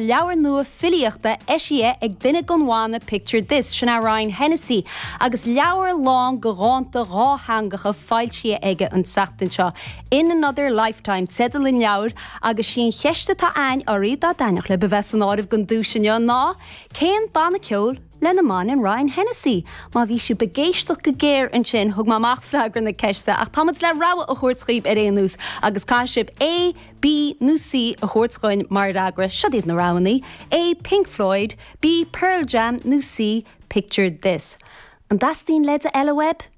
leabhar nua filíochta eisithe ag duine den bhanna Picture This, sin é Ryan Hennessy, agus leabhar lán de dhánta dhátheangacha foilsithe aige an tseachtain seo. In Another Lifetime teideal an leabhair agus sí an cheist atá a'ainn oraibh dá dtaitneodh libh a bheith san áireamh don duais inniu ná, cén banna ceoil lena mbaineann Ryan Hennessy? Má bhí sibh ag éisteacht go géar ansin thug mé amach freagra na ceiste ach táimid le rogha a thabhairt dhaoibh ar aon nós agus caithfidh sibh A, B nó C a thabhairt dhuinn mar fhreagra. Siod iad na roghanna, A, Pink Floyd, B, Pearl Jam nó C, Picture This. An dteastaíonn leide eile uaibh?